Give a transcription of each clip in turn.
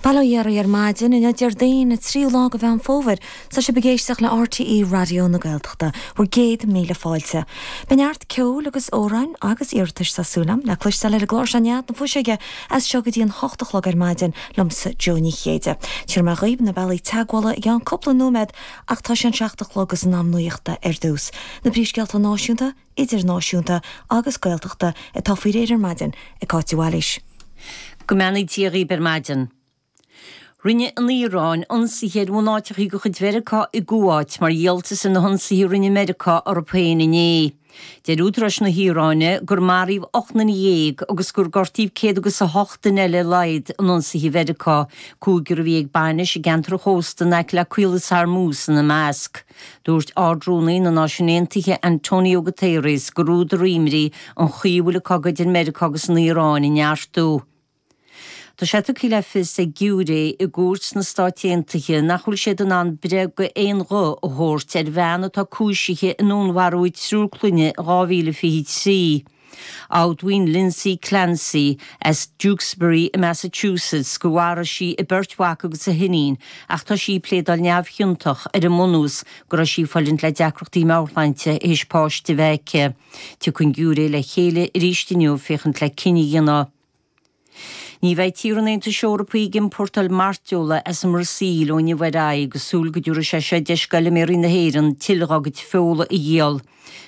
Bail ó Dhia oraibh ar maidin, inniu Déardaoin, an tríú lá de Mheán Fómhair. Tá sibh ag éisteacht le RTÉ Raidió na Gaeltachta. Bhur gcéad míle fáilte. Beidh neart ceoil agus amhráin agus iarratais, tá súil agam, le cloisteáil ar an gclár seo Nead na Fuiseoige as seo go dtí an hocht a chlog ar maidin liomsa Joe Ní Chéide. Tabharfaidh mé dhaoibh na bealaí teagmhála i gceann cúpla nóiméad ach tá sé an seacht a chlog agus in am nuachta ar dtús. Na príomhscéalta náisiúnta, idirnáisiúnta agus Gaeltachta atá faoi réir ar maidin ag Cáit de Bhailís. Go mbeannaí Dia dhaoib ar maidin. Rinne an Iaráin ionsaithe ar bhunáiteachaí de chuid Mheiriceá i gCuáit mar dhíoltas ar na hionsaithe a rinne Meiriceá orthu féin inné. Deir údaráis na hIaráine gur maraíodh 18 nduine agus gur gortaíodh céad agus a hocht duine eile ar a laghad in ionsaithe Mheiriceá, cúigear a bhí ag bainis i gceantar an chósta in aice le Caolas Hormuz ina measc. Dúirt Ard-Rúnaí na Náisiún Aontaithe Antonio Guterres gur údar imní an chaoi a bhfuil an cogadh idir Meiriceá agus an Iaráin ag neartú. Tá sé tugtha le fios ag giúiré i gcúirt sna Stáit Aontaithe nach bhfuil siad in ann breith d'aon ghuth a thabhairt ar bhean atá cúisithe i ndúnmharú a triúr clainne in 2023. Admhaíonn Lindsay Clancy as Duxbury i Massachusetts gur mharaigh sí a beirt mhac agus a hiníon ach tá sí ag pléadáil neamhchiontach ar an mbunús go raibh sí ag fulaingt le deacrachtaí meabhairshláinte théis páiste a bheith aici. Tiocfaidh an giúiré le chéile arís inniu féachaint le cinneadh a dhéanamh. Ní bheidh tíortha an Aontais Eorpaigh ag iompórtáil mairteola as an mBrasaíl ó inniu ar aghaidh agus súil go dtabharfaidh sé seo deis d'fheilméaraí na hÉireann tuilleadh dá gcuid feola a dhíol.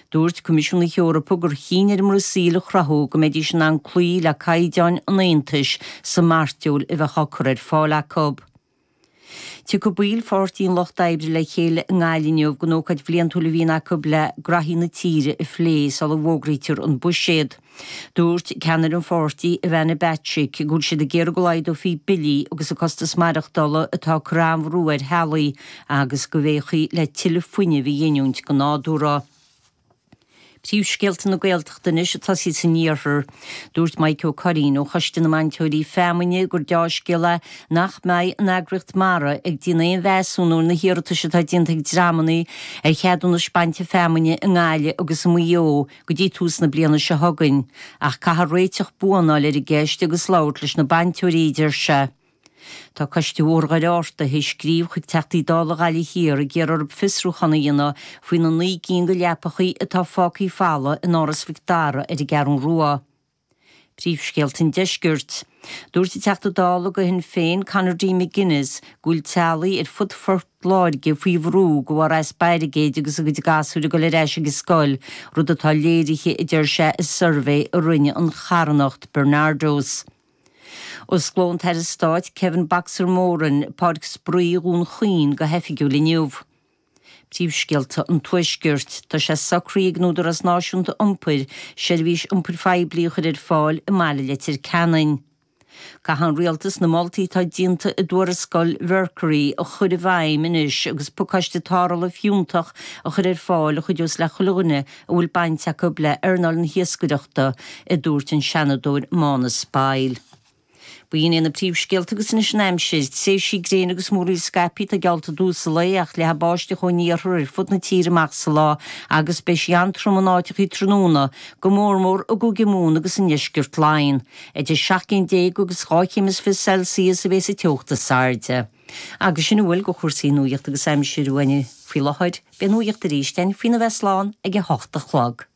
Dúirt Coimisiún na hEorpa gur chinn ar an mBrasaíl a chruthú go mbeidís in ann cloí le caighdeáin an Aontais sa mairteoil a bheadh á cur ar fáil acu. Tiocfaidh baill Pháirtí an Lucht Oibre le chéile i nGaillimh inniu don ócáid bhliantúil a bhíonn acu le graithí na tíre a phlé sula bhfógraítear an buiséad. Dúirt ceannaire an pháirtí, Ivana Bacik, go bhfuil siad ag iarraidh go laghdófaí billí agus an costas maireachtála atá ag cur an-bhrú ar theaghlaigh agus go bhféachfaí le tuilleadh fuinnimh a ghiniúint go nádúrtha. Príomhscéalta na Gaeltachta anois ag tosaí san iarthar. Dúirt Maidhc Ó Curraoin ó Choiste na mBainteoirí Feamainne gur deá-scéal é nach mbeidh an eagraíocht mara ag déanamh aon mheasúnú ar na hiarratais atá déanta ag dreamanna ar cheadúnais bainte feamainne i nGaillimh agus i Maigh Eo go dtí tús na bliana seo chugainn. Ach caithfear réiteach buan a fháil ar an gceist agus labhairt leis na bainteoirí, a deir sé. Tá Coiste Bhóthar Dhoire Fhátharta théis scríobh chuig Teachtaí Dála Ghaillimh Thiar ag iarraidh orthu fiosrúchán a dhéanamh faoi na 9 gcinn de leapachaí atá fágthaí falamh in Áras Mhic Dara ar an gCeathrú Rua. Príomhscéalta an Deiscirt. Dúirt an Teachta Dála do Shinn Féin Conor D McGuinness go bhfuil teaghlaigh ar fud Phort Láirge faoi bhrú de bharr easpa airgid agus a gcuid gasúir ag dul ar ais ag an scoil, rud atá léirithe a deir sé i suirbhé a rinne an charthanacht Barnardos. Osclóidh an tAire Stáit Kevin 'Boxer' Moran Páirc Spraoi Dhún Chaoin go hoifigiúil inniu. Príomhscéalta an Tuaiscirt. Tá sé socraithe ag an Údarás Náisiúnta Iompair seirbhís iompair phoiblí a chur ar fáil i mbaile Leitir Ceanainn. Caithfidh an Rialtas na moltaí atá déanta i dtuarascáil Mercury a chur i bhfeidhm anois agus pacáiste tarrthála fiúntach a chur ar fáil a chuideos le chuile dhuine a bhfuil baint acu le earnáil na hiascaireachta, a dúirt an Seanadóir Mánus Boyle. B'in iad na príomhscéalta agus anois an aimsir. Tréimhsí gréine agus múraíl scaipthe atá geallta i dtús an lae ach leathfaidh báisteach ón iarthar ar fud na tíre amach sa lá agus beidh sí an-trom in áiteachaí tráthnóna, go mórmór i gCúige Mumhan agus i ndeisceart Laighean. Idir 17 céim agus 22 chéim Celsius a bheas an teocht is airde. Agus sin a bhfuil de chúrsaí nuachta agus aimsire uainne faoi láthair. Beidh nuacht arís againn faoina bheith slán ag a hocht a chlog.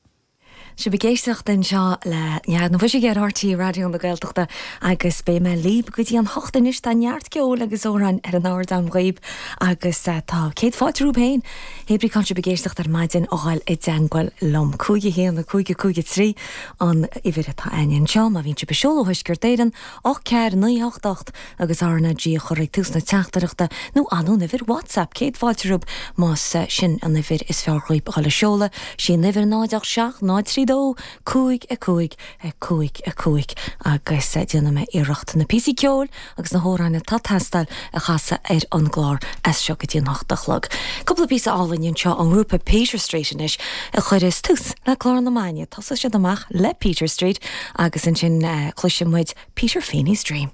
Sibh ag éisteacht anseo le Nead na Fuiseoige ar RTÉ Raidió na Gaeltachta agus beidh mé libh go dtí an hocht anois. Tá neart ceoil agus amhráin ar an ardán dhaoibh agus tá céad fáilte romhaibh féin. Hé brí cá bhfuil sibh ag éisteacht ar maidin a ghoil i dteangmháil liom. 5 1 5 5 3 an uimhir atá againn anseo má bhíonn sibh ag seoladh ó Thuaisceart Éireann 8 4 9 8 8 agus RnaG a chur ag tús na teachtaireachta nó an uimhir WhatsApp, céad fáilte romhaibh más sin an uimhir is fearr dhaoibh a dhul a seoladh, sí an uimhir 0 8 7 0 3 2 5 5 5 5 agus déanfaidh mé iarracht na píosaí ceoil agus na hamhráin atá ag teastáil a chasadh ar an gclár as seo go dtí an hocht a chlog. Cúpla píosa álainn anseo ón ngrúpa Peter Street anois a chuireas tús le clár na maidine. Tosóidh siad amach le Peter Street agus ansin cloisfidh muid Peter Feeney's Dream.